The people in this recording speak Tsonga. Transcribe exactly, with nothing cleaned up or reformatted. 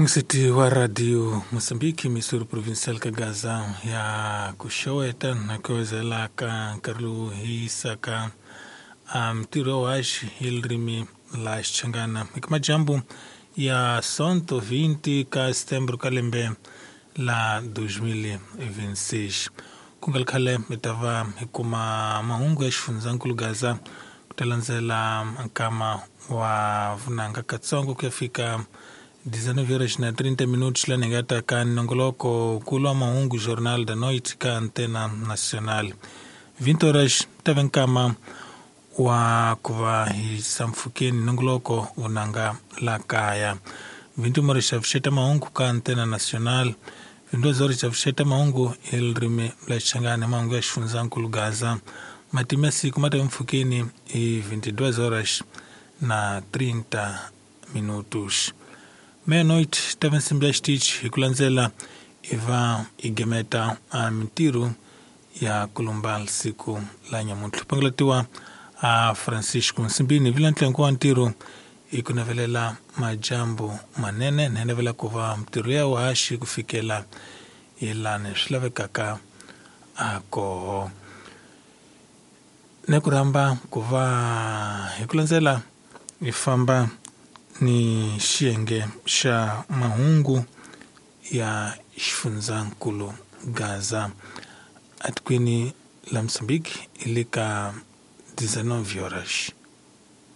Msiti wa Radio Mosambiki Missouri Provincial ka Gaza ya kuxeweta na kuwezela ka nkarhi lowu hi yisaka ntirho wa haxi hi ririmi la Xichangana eka majambu ya Sonto vinte ka Setembro ka lembe la dois mil e vinte e seis. Ku nga ri khale hi ta va hi kuma mahungu ya xifundzankulu Gaza ku ta landzela nkama wa vunanga katsongo ku ya fika dezenove horas na trinta minutos lani nga ta ka nongoloko nkulu wa mahungu Jornal da Noite ka Antena Nacional. vinte horas ta va nkama wa ku va hi sampfhukeni nongoloko vunanga la kaya. vinte e uma horas xa vuxeta mahungu ka Antena Nacional. vinte e duas horas xa vuxeta mahungu hi ririmi la Xichangani mahungu ya xifundzankulu Gaza. Matimu ya siku ma ta mpfhukeni hi vinte e duas horas na trinta minutos. Meia-noite ta va nsimbi ya xitichi hi ku landzela i va i gemeta a mintirho ya kulumba siku la nyamuntlha. Pangulatiwa a Francisco Nsimbini vila ntlengo wa ntirho i ku navelela majambu manene ni navela ku va mintirho ya uhaxi ku fikela hi lani swi lavekaka a koho. Ne ku rhamba ku va hi ku landzela hi famba ni xiyenge xa mahungu ya xifundzankulu Gaza atikweni la Mozambique hi le ka dezenove horas.